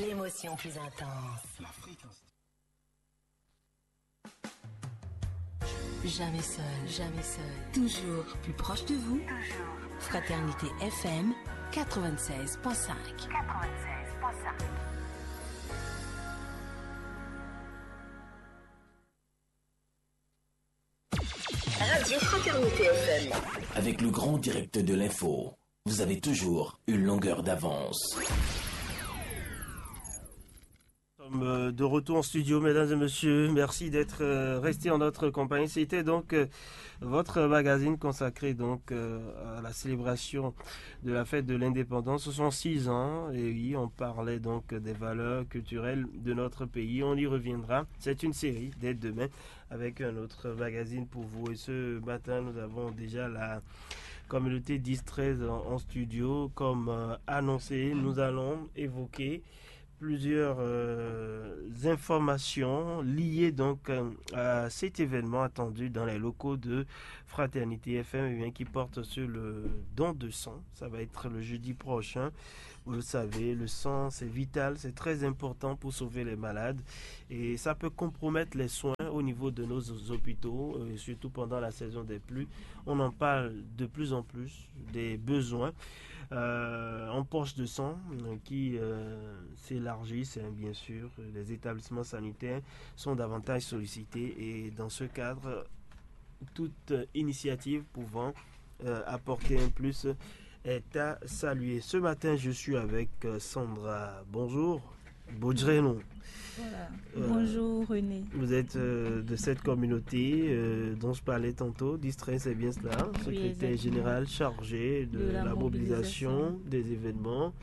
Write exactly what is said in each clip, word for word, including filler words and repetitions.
L'émotion plus intense. Jamais seul, jamais seul. Toujours plus proche de vous. Fraternité F M quatre-vingt-seize point cinq. Radio Fraternité F M. Avec le grand direct de l'info, vous avez toujours une longueur d'avance. Nous sommes euh, de retour en studio, mesdames et messieurs. Merci d'être euh, restés en notre compagnie. C'était donc euh, votre magazine consacré donc euh, à la célébration de la fête de l'indépendance, soixante-six ans. Et oui, on parlait donc des valeurs culturelles de notre pays. On y reviendra. C'est une série dès demain avec un autre magazine pour vous. Et ce matin, nous avons déjà la communauté dix treize en, en studio. Comme euh, annoncé, nous allons évoquer plusieurs euh, informations liées donc euh, à cet événement attendu dans les locaux de Fraternité F M, eh bien, qui porte sur le don de sang. Ça va être le jeudi prochain. Vous le savez, le sang, c'est vital, c'est très important pour sauver les malades. Et ça peut compromettre les soins au niveau de nos hôpitaux, euh, surtout pendant la saison des pluies. On en parle de plus en plus des besoins euh, en poche de sang euh, qui euh, s'élargissent, hein, bien sûr. Les établissements sanitaires sont davantage sollicités et dans ce cadre, toute initiative pouvant euh, apporter un plus est à saluer. Ce matin, je suis avec euh, Sandra. Bonjour. Bodjreno. Voilà. Euh, Bonjour René. Vous êtes euh, de cette communauté euh, dont je parlais tantôt, dix treize, c'est bien cela, secrétaire oui, général chargé de, de la, la mobilisation, mobilisation des événements.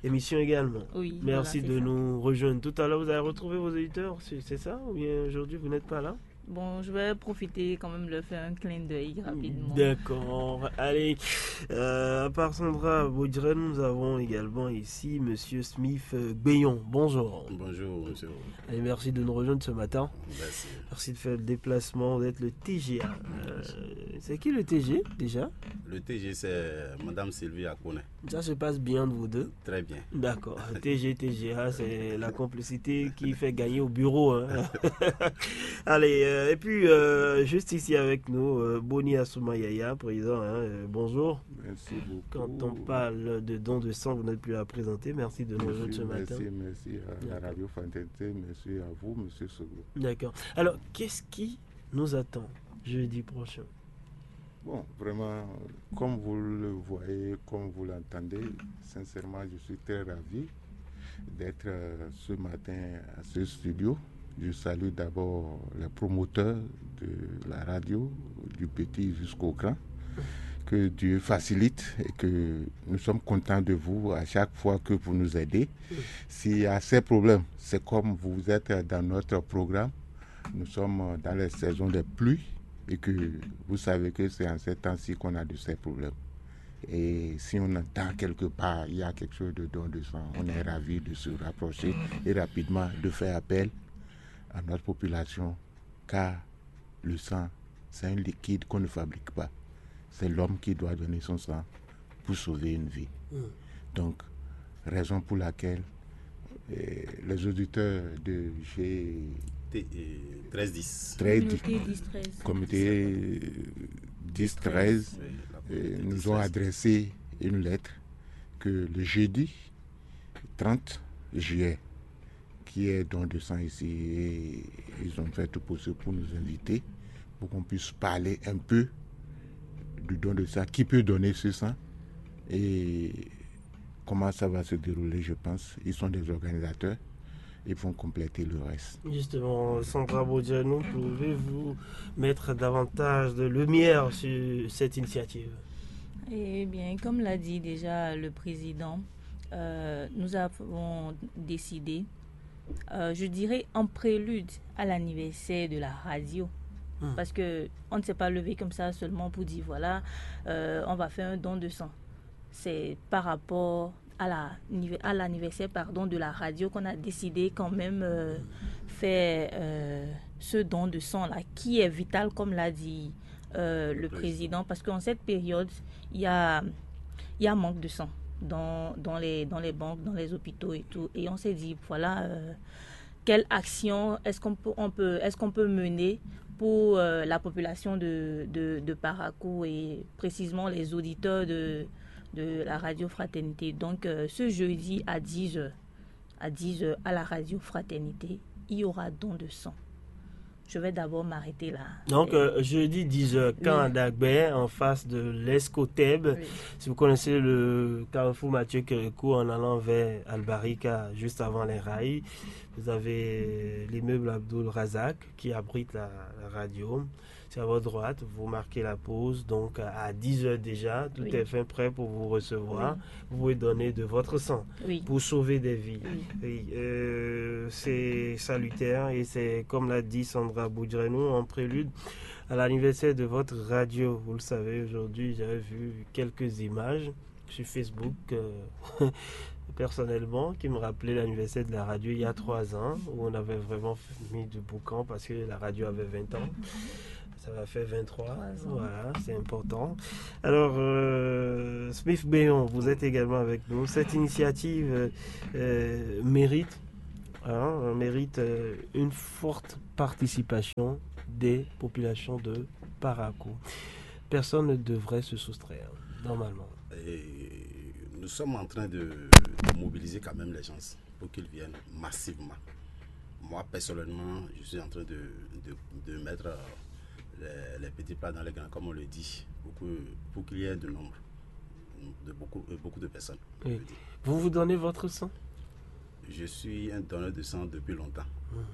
Émission également. Oui, Merci voilà, de ça. Nous rejoindre. Tout à l'heure, vous allez retrouver vos auditeurs, c'est ça ? Ou bien aujourd'hui, vous n'êtes pas là ? Bon, je vais profiter quand même de faire un clin d'œil rapidement. D'accord. Allez, euh, à part Sandra Bodjreno, nous avons également ici Monsieur Smith euh, Gbeyon. Bonjour. Bonjour, monsieur. Et merci de nous rejoindre ce matin. Merci. Merci de faire le déplacement, d'être le T G A. Euh, c'est qui le T G déjà ? Le T G, c'est Madame Sylvie Akone. Ça se passe bien entre vous deux ? Très bien. D'accord. T G, T G A, c'est la complicité qui fait gagner au bureau. Hein. Allez, euh, et puis, euh, juste ici avec nous, euh, Boni Asumayaya, présent. Hein, euh, bonjour. Merci beaucoup. Quand on parle de don de sang, vous n'êtes plus à présenter. Merci de nous rejoindre ce matin. Merci, merci à la radio Fraternité. Merci à vous, monsieur Soglo. D'accord. Alors, qu'est-ce qui nous attend jeudi prochain ? Bon, vraiment, comme vous le voyez, comme vous l'entendez, sincèrement, je suis très ravi d'être euh, ce matin à ce studio. Je salue d'abord les promoteurs de la radio, du petit jusqu'au grand. Que Dieu facilite et que nous sommes contents de vous à chaque fois que vous nous aidez. S'il y a ces problèmes, c'est comme vous êtes dans notre programme. Nous sommes dans les saisons des pluies et que vous savez que c'est en ces temps-ci qu'on a de ces problèmes. Et si on entend quelque part, il y a quelque chose de don de sang, on est ravi de se rapprocher et rapidement de faire appel à notre population, car le sang, c'est un liquide qu'on ne fabrique pas. C'est l'homme qui doit donner son sang pour sauver une vie. Donc, raison pour laquelle euh, les auditeurs de G... T- euh, treize dix. Très di- Communauté dix treize. Comité dix treize Oui, la euh, communauté nous dix ont treize. Adressé une lettre que le jeudi trente juillet, qui est don de sang ici, et ils ont fait tout possible pour nous inviter, pour qu'on puisse parler un peu du don de sang, qui peut donner ce sang et comment ça va se dérouler, je pense. Ils sont des organisateurs, ils vont compléter le reste. Justement, Sandra Bodjreno, pouvez-vous mettre davantage de lumière sur cette initiative ? Eh bien, comme l'a dit déjà le président, euh, nous avons décidé, euh, je dirais en prélude à l'anniversaire de la radio, Hmm. parce que on ne s'est pas levé comme ça seulement pour dire voilà, euh, on va faire un don de sang. C'est par rapport à la à l'anniversaire, pardon, de la radio qu'on a décidé quand même euh, faire euh, ce don de sang là, qui est vital, comme l'a dit euh, le président, parce qu'en cette période, il y a il y a manque de sang. dans, dans les, dans les banques, dans les hôpitaux et tout. Et on s'est dit, voilà, euh, quelle action est-ce qu'on peut, on peut, est-ce qu'on peut mener pour euh, la population de, de, de Parakou et précisément les auditeurs de, de la Radio Fraternité. Donc, euh, ce jeudi à dix heures, à dix heures à la Radio Fraternité, il y aura don de sang. Je vais d'abord m'arrêter là. Donc, euh, jeudi dix heures, camp d'Agbé, en face de l'Escoteb. Si vous connaissez le carrefour Mathieu Kérékou en allant vers Albarika, juste avant les rails, vous avez l'immeuble Abdul Razak qui abrite la, la radio. C'est à votre droite, vous marquez la pause. Donc, à dix heures déjà, tout est fin prêt pour vous recevoir. Vous pouvez donner de votre sang pour sauver des vies. Oui, euh, c'est salutaire et c'est, comme l'a dit Sandra Boudrenou, en prélude à l'anniversaire de votre radio. Vous le savez, aujourd'hui, j'avais vu quelques images sur Facebook, euh, personnellement, qui me rappelaient l'anniversaire de la radio il y a trois ans, où on avait vraiment mis du boucan parce que la radio avait vingt ans. Ça va faire vingt-trois. Voilà, c'est important. Alors, euh, Smith Béon, vous êtes également avec nous. Cette initiative euh, euh, mérite, hein, mérite euh, une forte participation des populations de Parakou. Personne ne devrait se soustraire, normalement. Et nous sommes en train de, de mobiliser quand même les gens pour qu'ils viennent massivement. Moi, personnellement, je suis en train de, de, de mettre euh, les, les petits plats dans les grands, comme on le dit, pour que, pour qu'il y ait de nombre, de beaucoup, euh, beaucoup de personnes. Oui. Vous vous donnez votre sang ? Je suis un donneur de sang depuis longtemps,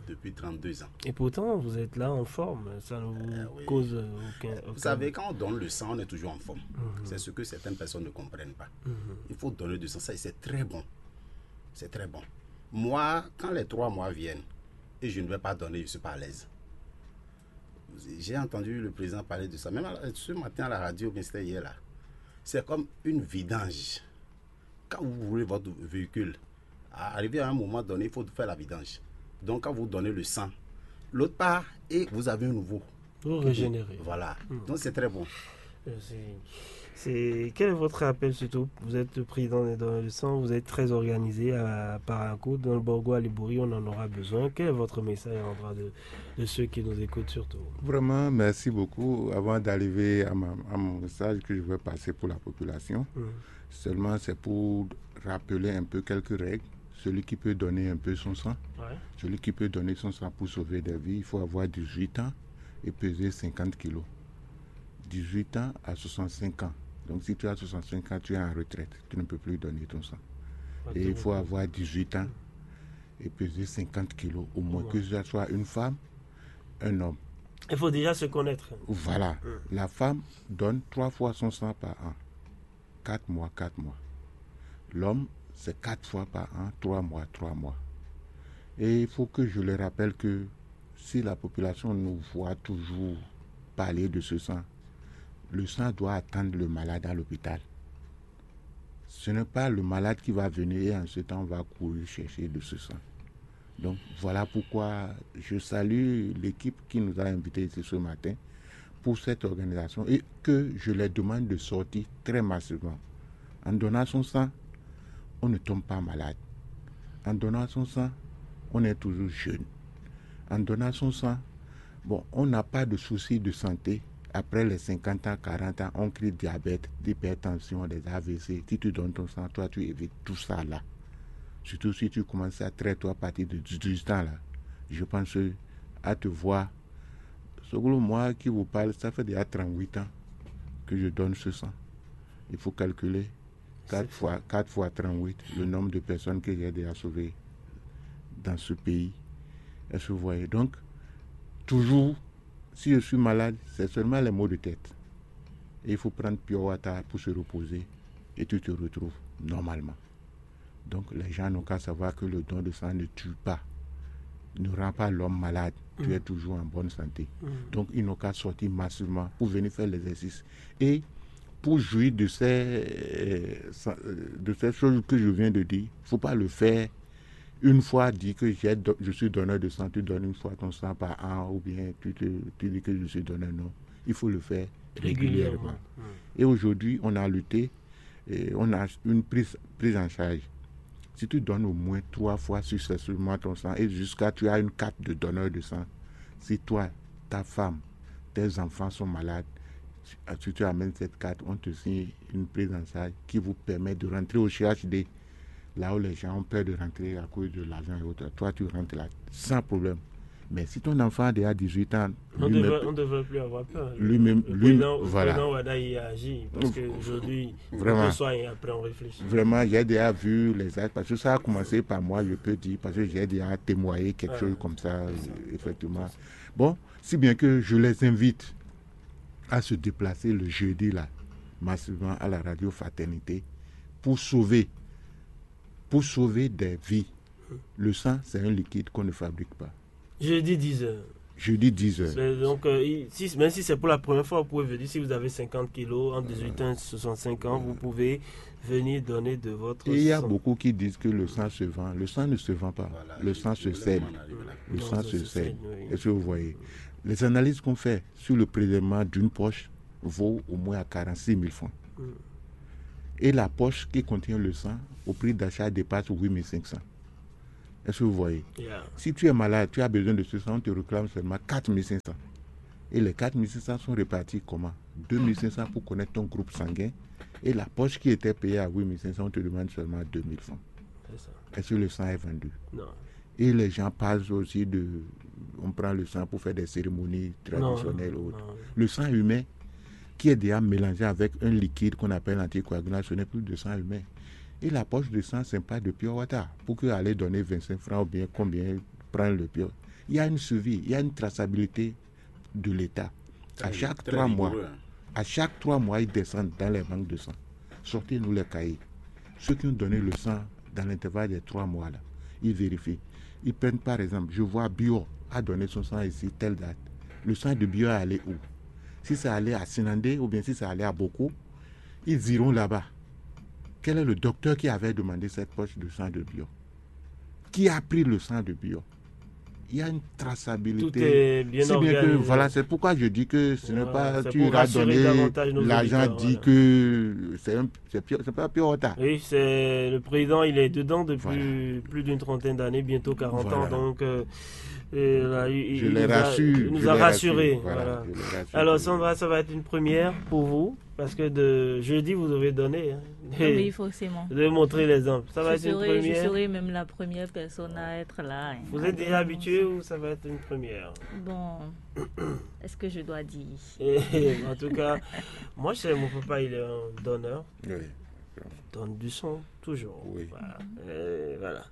depuis trente-deux ans. Et pourtant, vous êtes là en forme, ça ne vous Euh, oui. cause aucun, aucun... Vous savez, quand on donne le sang, on est toujours en forme. C'est ce que certaines personnes ne comprennent pas. Il faut donner du sang, ça, c'est très bon. C'est très bon. Moi, quand les trois mois viennent et je ne vais pas donner, je ne suis pas à l'aise. J'ai entendu le président parler de ça. Même à- ce matin à la radio, bien c'était hier là. C'est comme une vidange. Quand vous roulez votre véhicule, à- arrivé à un moment donné, il faut faire la vidange. Donc quand vous donnez le sang, l'autre part et vous avez un nouveau. Vous régénérez. Voilà. Donc c'est très bon. Euh, c'est- c'est- Quel est votre appel surtout ? Vous êtes président des donneurs de sang, vous êtes très organisé à Parakou, dans le Borgo à Libouri, on en aura besoin. Quel est votre message à l'endroit de, de ceux qui nous écoutent surtout ? Vraiment, merci beaucoup. Avant d'arriver à, ma- à mon message que je vais passer pour la population, seulement c'est pour rappeler un peu quelques règles. Celui qui peut donner un peu son sang, Ouais. Celui qui peut donner son sang pour sauver des vies, il faut avoir dix-huit ans et peser cinquante kilos. Dix-huit ans à soixante-cinq ans. Donc si tu as soixante-cinq ans, tu es en retraite. Tu ne peux plus donner ton sang. Et il faut avoir dix-huit ans et peser cinquante kilos au moins, que ce soit une femme, un homme. Il faut déjà se connaître. Voilà. La femme donne trois fois son sang par an. Quatre mois, quatre mois. L'homme, c'est quatre fois par an, trois mois, trois mois. Et il faut que je le rappelle que si la population nous voit toujours parler de ce sang, le sang doit attendre le malade à l'hôpital. Ce n'est pas le malade qui va venir et en ce temps on va courir chercher de ce sang. Donc voilà pourquoi je salue l'équipe qui nous a invités ici ce matin pour cette organisation et que je leur demande de sortir très massivement. En donnant son sang, on ne tombe pas malade. En donnant son sang, on est toujours jeune. En donnant son sang, bon, on n'a pas de souci de santé. Après les cinquante ans, quarante ans, on crie diabète, d'hypertension, des A V C. Si tu donnes ton sang, toi, tu évites tout ça là. Surtout si tu commences à très tôt à partir de dix-huit ans là. Je pense que à te voir. Soglo, moi qui vous parle, ça fait déjà trente-huit ans que je donne ce sang. Il faut calculer quatre fois, quatre fois trente-huit, le nombre de personnes que j'ai déjà sauvées dans ce pays. Est-ce que vous voyez ? Donc, toujours, si je suis malade, c'est seulement les maux de tête. Et il faut prendre pure water pour se reposer et tu te retrouves normalement. Donc les gens n'ont qu'à savoir que le don de sang ne tue pas, ne rend pas l'homme malade. Tu es toujours en bonne santé. Donc ils n'ont qu'à sortir massivement pour venir faire l'exercice. Et pour jouir de ces, euh, sa- euh, de ces choses que je viens de dire, il ne faut pas le faire une fois dit que j'ai do- je suis donneur de sang, tu donnes une fois ton sang par an ou bien tu, te- tu dis que je suis donneur. Non, il faut le faire régulièrement. Et aujourd'hui, on a lutté et on a une prise, prise en charge. Si tu donnes au moins trois fois successivement ton sang et jusqu'à tu as une carte de donneur de sang, si toi, ta femme, tes enfants sont malades, si tu amènes cette carte, on te signe une prise en charge qui vous permet de rentrer au C H D, là où les gens ont peur de rentrer à cause de l'argent et autres. Toi, tu rentres là sans problème. Mais si ton enfant a déjà dix-huit ans, on ne devrait plus avoir peur. Lui-même, lui, voilà. Président Wada y a agi parce qu'aujourd'hui, vraiment, on peut soigner, après on réfléchit. Vraiment, j'ai déjà vu les actes, parce que ça a commencé par moi, je peux dire, parce que j'ai déjà témoigné quelque chose comme ça, effectivement. Bon, si bien que je les invite à se déplacer le jeudi là, massivement à la radio Fraternité, pour sauver, pour sauver des vies. Le sang, c'est un liquide qu'on ne fabrique pas. Jeudi dix heures. Jeudi dix heures. Donc, euh, si, même si c'est pour la première fois, vous pouvez venir. Si vous avez cinquante kilos, entre dix-huit ans et soixante-cinq ans, vous pouvez venir donner de votre sang. Et il y a beaucoup qui disent que le sang se vend. Le sang ne se vend pas. Voilà, le sang se cède. Le sang se cède. Est-ce que vous voyez ? Les analyses qu'on fait sur le prélèvement d'une poche vaut au moins à quarante-six mille francs. Et la poche qui contient le sang, au prix d'achat, dépasse huit mille cinq cents. Est-ce que vous voyez ? Si tu es malade, tu as besoin de ce sang, on te réclame seulement quatre mille cinq cents. Et les quatre mille cinq cents sont répartis comment ? Deux mille cinq cents pour connaître ton groupe sanguin. Et la poche qui était payée à huit mille cinq cents, on te demande seulement deux mille francs. Est-ce que le sang est vendu ? Non. Et les gens parlent aussi de... On prend le sang pour faire des cérémonies traditionnelles. Le sang humain qui est déjà mélangé avec un liquide qu'on appelle anticoagulant, ce n'est plus de sang humain. Et la poche de sang, ce n'est pas de pure water. Pour que aller donner vingt-cinq francs ou bien combien, prendre le pure. Il y a une suivi, il y a une traçabilité de l'État. À chaque trois mois, à chaque trois mois, ils descendent dans les banques de sang. Sortez-nous les cahiers. Ceux qui ont donné le sang dans l'intervalle des trois mois là, ils vérifient. Ils prennent par exemple, je vois Bio a donné son sang ici, telle date. Le sang de Bio est allé où ? Si c'est allé à Sinandé ou bien si c'est allé à Boko, ils iront là-bas. Quel est le docteur qui avait demandé cette poche de sang de Bio ? Qui a pris le sang de Bio ? Il y a une traçabilité. Tout est bien si bien que, organisé. Voilà, c'est pourquoi je dis que ce n'est Ouais, pas c'est tu pour iras rassurer donner davantage nos l'argent, auditeurs, dit voilà. Que c'est un, c'est pire, c'est pas pire retard. Oui, c'est le président, il est dedans depuis Voilà. Plus d'une trentaine d'années, bientôt quarante Voilà. Ans. Donc, euh, et là, il, Je il les nous a, rassure, il nous je a les rassurés. Rassure. Voilà, je les rassure. Alors, Sandra, ça va être une première pour vous, parce que de jeudi, vous devez donner, hein, Oui, forcément. de montrer l'exemple. Ça va je, être une serai, je première. Serai même la première personne à être là, hein. Vous êtes déjà habitué ou ça va être une première ? Bon, est-ce que je dois dire ? Et, en tout cas, moi, je sais, mon papa, il est un donneur. Oui. Donne du sang, toujours. Oui. Voilà. Et voilà.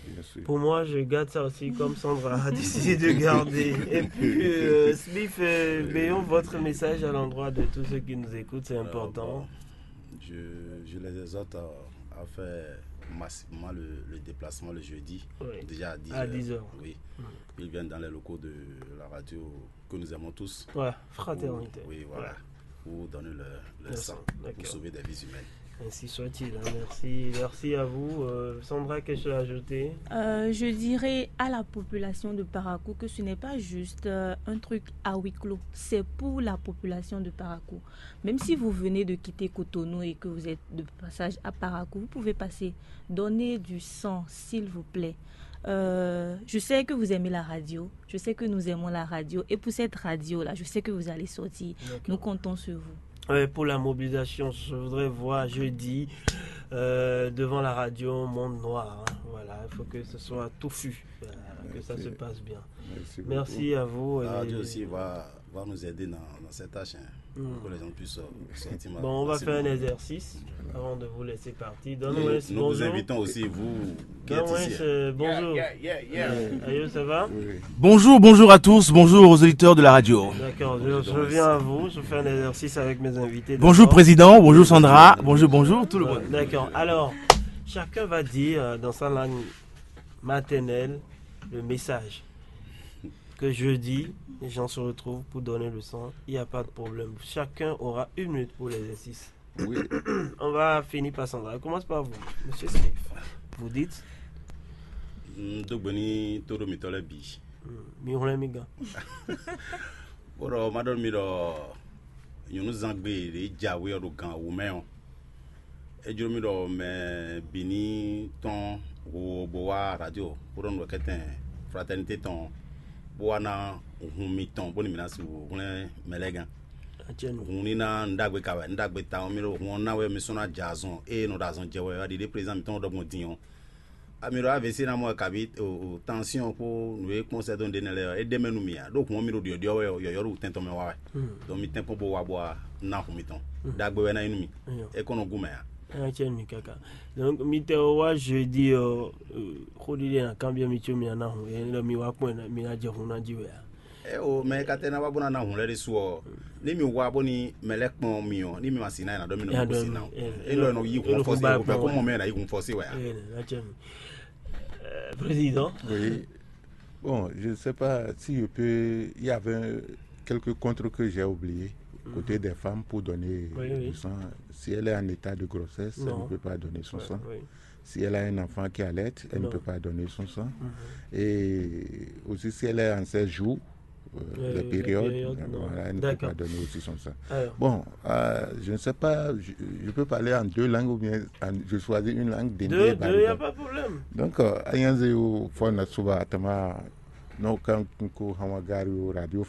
Bien sûr. Pour moi, je garde ça aussi comme Sandra a décidé de garder. Et puis, euh, Smith, euh, Béon, votre message à l'endroit de tous ceux qui nous écoutent, c'est Alors, important. Bon, je, je les exhorte à, à faire massivement le, le déplacement le jeudi. Oui. Déjà à dix À heures. dix heures. Oui. Ils viennent dans les locaux de la radio que nous aimons tous. Ouais, fraternité. Oui, voilà. Pour donner leur, leur Le sang, sang, pour d'accord. Sauver des vies humaines. Ainsi soit-il, hein. Merci, merci à vous. Euh, Sandra, quelque chose à ajouter ? Euh, je dirais à la population de Parakou que ce n'est pas juste euh, un truc à huis clos. C'est pour la population de Parakou. Même si vous venez de quitter Cotonou et que vous êtes de passage à Parakou, vous pouvez passer. Donnez du sang, s'il vous plaît. Euh, je sais que vous aimez la radio. Je sais que nous aimons la radio. Et pour cette radio-là, je sais que vous allez sortir. Nous comptons sur vous. Ouais, pour la mobilisation, je voudrais voir jeudi euh, devant la radio Monde Noir, hein. Voilà, il faut que ce soit touffu, euh, que ça se passe bien. Merci, Merci à vous. La Et radio aussi va, va nous aider dans, dans cette tâche, hein, pour que les gens puissent euh, sortir. Bon, on va facilement. Faire un exercice avant de vous laisser partir. Et Donne-moi un nous vous bonjour. Invitons aussi, vous qui êtes Donne-moi ici. Un bonjour. Yeah, yeah, yeah. Ayo, ça va ? Oui. Bonjour, bonjour à tous, bonjour aux auditeurs de la radio. D'accord, je, je viens à vous, je fais un exercice avec mes invités. Bonjour D'abord. Président, bonjour Sandra, bonjour, bonjour tout le monde. D'accord, alors, chacun va dire euh, dans sa langue maternelle le message que jeudi, les gens se retrouvent pour donner le sang. Il n'y a pas de problème. Chacun aura une minute pour l'exercice. Oui. On va finir par Sandra. On commence par vous, monsieur Smith. Vous dites N dó gbe ní tóɖómitɔ́ lɛ́ɛ bǐ. Mi hwlɛ́n mi gán. Bó ɖɔ má ɖɔ nú mi ɖɔ nyɔ̌núzangbe ɖě jǎwe ɔ́ ɖo gan wú mɛ ɔ́, É jló mì ɖɔ mɛ bǐ ní tɔ́n ho bó wá radio bó ɖɔ nǔ kɛtɛn fraternité tɔn bó wá ná hun mitɔn bónú mǐ ná sixú hwlɛ́n mɛ lɛ́ɛ gán. Hun ní ná nǔ ɖagbe ka wɛ, nǔ ɖagbe tawun mì ɖo hun ɔ́ ná wɛ mi sɔ́ ná jɛ azɔn ée nɔ ɖo azɔn jɛ wɛ wá ɖiɖe président mǐtɔn ɖɔgbɔn din ɔ́. Ami ɖo A V C ná mɔ wɛ kabi o, o, tension kpó nǔ e kpɔ́n sɛ́ dó ɖe nɛ́ lɛ́ɛ ɔ́, é ɖ'é mɛ nú mì ǎ. Ɖó hǔn ɔ́ mì ɖo ɖyɔ̌ɖyɔ́ wɛ ɔ́, yɔ̌yɔ́ ɖo tɛn tɔn mɛ wá wɛ. Donc mi tɛ́nkpɔ́n bó wá bó wá ná hun mitɔn. Ɖagbe wɛ ná nyí nú mì. É kɔn nɔ gún mɛ ǎ. Ɛ cɛ mi kaka. Donc mi tɛ wá jeudi ɔ́, xó ɖiɖe na kanbyɔ́ mi có mi ná hun, é ɖɔ mi wá kpɔ́n mi ná jɛ hun ná jí wɛ ǎ. Ɛ o, mɛ e ka tɛ ná wá bó ná ná hun lɛ́ɛ ɖésú ɔ́, ní mi wá bó ní mɛ lɛ́ɛ kpɔ́n mi ɔ́, ní mi ma si ná ɛ ná ɖɔ mi nɔ mi kó si ná o. É nɔ nɔ yí hun fɔ́sí, é nɔ fɛ kó mɔ mɛ ná yí hun fɔ́sí wɛ ǎ. Ɛ ɛ ɛ président. Oui. Bon, je ne sais pas si je peux. Il y avait quelques comptes que j'ai oublié côté des femmes pour donner du sang. Si elle est en état de grossesse, elle ne peut pas donner son sang. Si elle a un enfant qui allait, elle ne peut pas donner son sang. Et aussi, si elle est en séjour, les périodes, elle ne peut pas donner aussi son sang. Bon, je ne sais pas, je peux parler en deux langues ou bien je choisis une langue. Deux, il n'y a pas de problème. Donc, ayanze ou fona suba atama no kan ko hamagari o radio